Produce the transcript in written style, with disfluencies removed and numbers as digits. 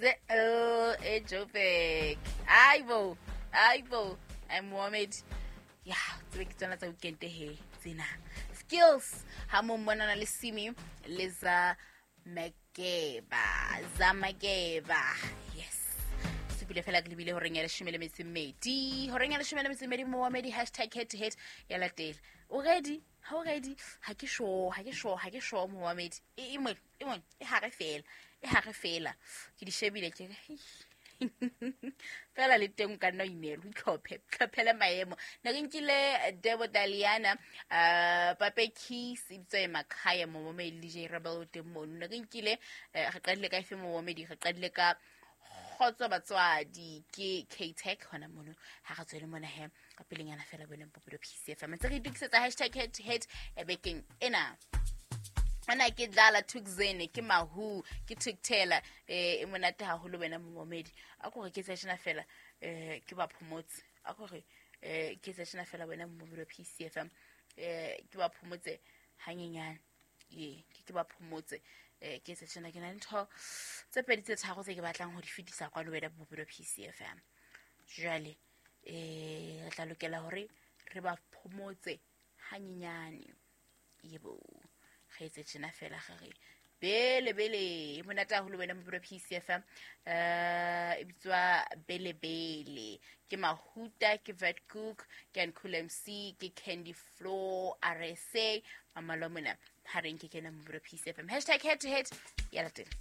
L eJoburg. Hayibo, hayibo, I'm Mohammed. Ya, tsebe ke tsona tsa weekend he tsena. Skills ha mo mmonana le Simi le za Makeba, za Makeba. Yes. Supile fela ke lebile horeng ya leshome le metso e mmedi. Horeng ya leshome le metso e mmedi Mohammed hashtag head to head ya latela. O ready? Ha o ready? Ha ke sure, ha ke sure, ha ke sure Mohammed. E e mo e mo e hare fela. E hare fela. Ke di shebile ke re fela le teng o ka nna o ineela o itlhophe tlhophele maemo ne re nkile Debo Daliana Pape Keys e bitswa e Makhaya momomedi DJ Rebel o teng mono ne re nkile re qadile ka efe momomedi re qadile ka kgotso batswadi ke K-Tech hona mono ha re tswele mona he ka pelenyana fela bone Bophelo PCFM ntse re itokisetsa hashtag head to head e bekeng ena ana ke dlala Thukzene ke Mahu ke Thukthela e monate haholo wena momomedi a ko re ke tsa fela ke ba phomotse a ko re ke tsa fela wena momomedi wa PCFM ke ba phomotse hanyenyane ye ke ba phomotse ke tsa tjena ke na le ntho tse pedi tse tharo tse ke batlang ho di fetisa kwano wena Bophelo PCFM jwale re tla lokela hore re ba phomotse hanyenyane yebo re etse tjena fela ge re bele bele e monate haholo wena Bophelo PCFM e bitswa bele bele ke Mahuta ke Vetkoek ke Uncool MC ke Candy Floor RSA mamalo mona ha re nke kena Bophelo PCFM hashtag head to head ya latela.